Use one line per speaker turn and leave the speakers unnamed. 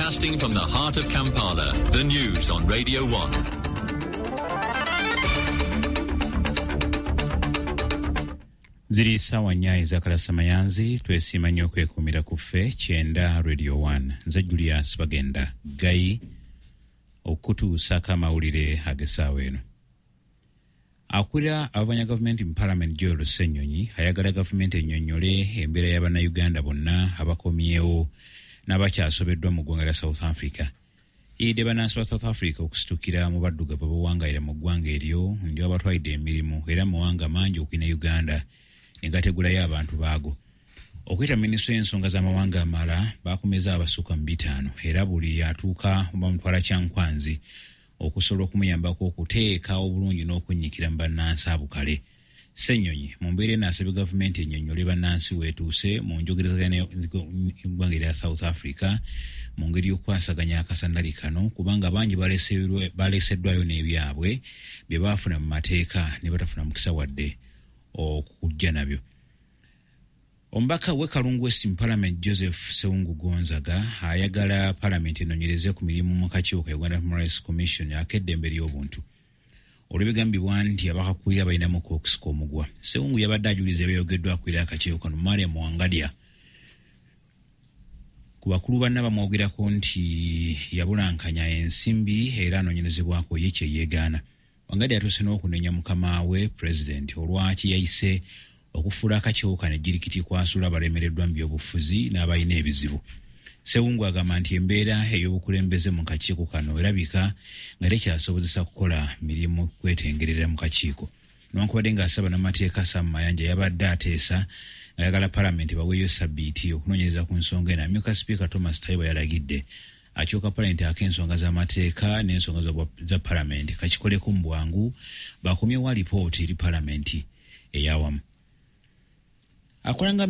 Broadcasting from the heart of Kampala, the news on Radio 1.
Ziri saawa 4 ezakalasa mayanzi. Twesiima nnyo okwekuumira ku ffe 90 Radio 1. Nze Julius Bagenda Gayi okutuusako amawulire ag'essaawa eno. Akulira ababanya gavumenti mu Palamenti Joel Ssenyonyi ayagala gavumenti ennyonnyole embeera y'Abannayuganda bonna abakomyewo n'abakyasobeddwa mu ggwanga lya South Africa. Eyidde bannansi ba South Africa okusitukira mu baddugavu abawangalira mu ggwanga eryo nti babatwalidde emirimu era mawanga mangi okuli ne Uganda ne gategulayo abantu baago. Okuyita minisitule y'ensonga z'amawanga amala bakumeza abasukka mu 5 era buli atuuka bamutwala Kyankwanzi okusobola okumuyambako okuteeka obulungi n'okunyiikira mu bannansi abukale. Ssenyonyi mu mbeera eno asabye gavumenti ennyonnyole bannansi weetuuse mu njogerezeganya n'eggwanga erya South Africa mu ngeri y'okukwasaganya akasandali kano, kubanga bangi baleseddwayo n'ebyabwe bye baafuna mu mateeka ne batafuna mukisa wadde okujja nabyo. Omubaka w'e Kalungu West mu Parliament Joseph Sewungu Gonzaga ayagala Parliament enoonyereze ku mirimu mu kakiiko ka Uganda Human Rights Commission ak'eddembe ly'obuntu olw'ebigambibwa nti abakakulira balinamu okusika omugwa. Sewungu yabadde ajuliza ebyayogeddwa akulira akakiiko kano Mariam Wangadya. Ku bakulu banna bamwogerako nti yabulankanya ensimbi era anoonyerezebwako ye kye yeegaana. Wangadya atuuse n'okunenya mukama we Pulezidenti olwaki yayise okufuula akakiiko kano ejjirikiti kwasula abalemereddwa mu byobufuzi n'abalina ebizibu. Sewungu agamba nti embeera ey'obukulembeze mu kakiiko kano erabika nga tekyasobozesa kukola mirimu kwetengerera mu kakiiko. Newankubadde ng'asaba n'amateeka Sam Mayanja yabadde ateesa ng'ayagala Palamenti baweeyo sabbiiti okunoonyereza ku nsonga eno, amyuka Sipiika Thomas Tayebwa yalagidde akiiko ka Palamenti ak'ensonga z'amateeka n'ensonga za Palamenti kakikoleko mu bwangu bakomyewo alipoota eri Palamenti eyawamu. Akolanga